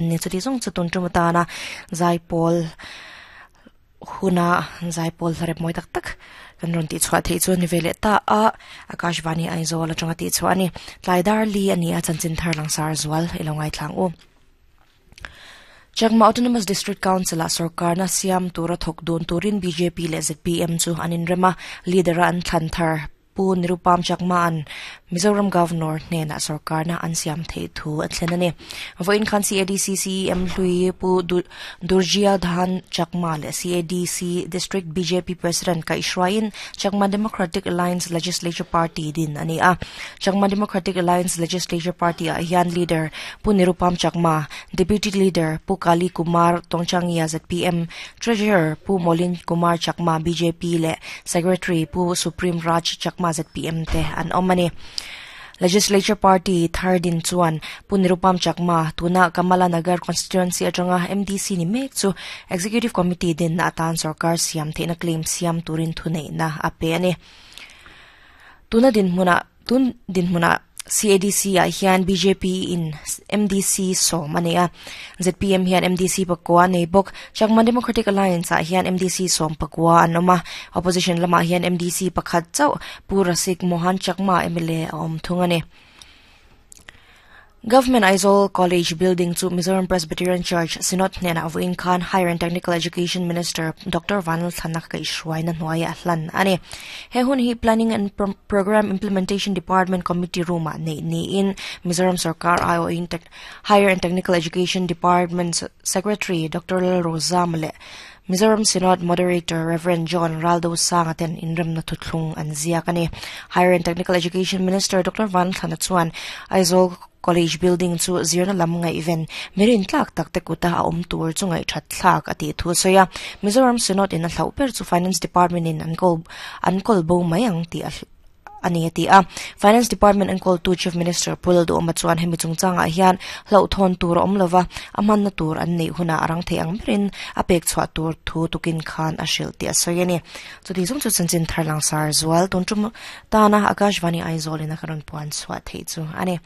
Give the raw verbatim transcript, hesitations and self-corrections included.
Ni chuti zawng chu tun tum atana zaipawl huna zaipawl hlarep mawi tak tak kan rawn tih chhuah theih chu ani ve leh ta a Akashvani Aizawl atanga tih chhuah ani tlai dar li ani a chanchin thar langsar zual ilo ngaithlang u. Chakma Autonomous District Council a sarkar na siam tura thawk dun turin B J P leh Z P M chu an inrem a leader a an thlan thar Pu Nirupam Chakma an Mizoram Governor hnena sarkar na an siam thei thu a thlen ani. Vawiin khan C A D C C E M hlui Pu Durjia Dhan Chakma leh C A D C District B J P President Kaihruaiin Chakma Democratic Alliance Legislature Party din ani a. Chakma Democratic Alliance Legislature Party ah hian leader Pu Nirupam Chakma, Deputy Leader Pu Kali Kumar Tongchangia Z P M, Treasurer Pu Molin Kumar Chakma B J P leh Secretary Pu Supreme Raj Chakma Z P M te an awm ani. Legislature Party thardin chuan Pu Nirupam Chakma tuna Kamala Nagar Constituency atanga M D C ni mek chu Executive Committee din na atan sarkar siam theihna claim siam turin thunei na a pe ani. Tuna din hmuna tun din hmuna C A D C ah hian B J P in M D C sawm ani a. Z P M hian M D C pakua nei bawk. Chakma Democratic Alliance ah hian M D C sawm pakua an awm a. Opposition lamah hian M D C pakhat chauh Pu Rasik Mohan Chakma M L A a awm thung ani. Government Aizawl College building chu Mizoram Presbyterian Church Synod hnena vawiin khan Higher and Technical Education Minister Doctor Vanlal Thlana kaihhruaina hnuaia hlan ani. He hun hi Planning and Pro Program Implementation Department Committee room ah nei niin Mizoram Sarkar I O in Higher and Technical Education Department Secretary Doctor Lal Rozam leh Mizoram Synod Moderator Reverend John Raldo Sanga ten inremna thuthlung an ziak ani. Higher and Technical Education Minister Doctor Vanlal Thlana chuan Aizawl College building chu zirna lam ngai event mirin tlak tak te kuta a awm tur chu ngai that thlak ati thu soya. Mizoram Synod in a hlau ber chu Finance Department in an kol an kol bo mai ang ti a ani ati a. Finance Department an kol tu Chief Minister Pulal Du Oma chuan hemi chungchanga hian hlau thon tur awm lova a hmanna tur an nei huna arang thei ang berin a pek chhuah tur thu tukin khan a hril ti a sawi ani. Chuti zawng chu chanchin thar langsar zual tun tum tana Akashvani Aizawl in a ka rawn puan chhuah theih chu ani.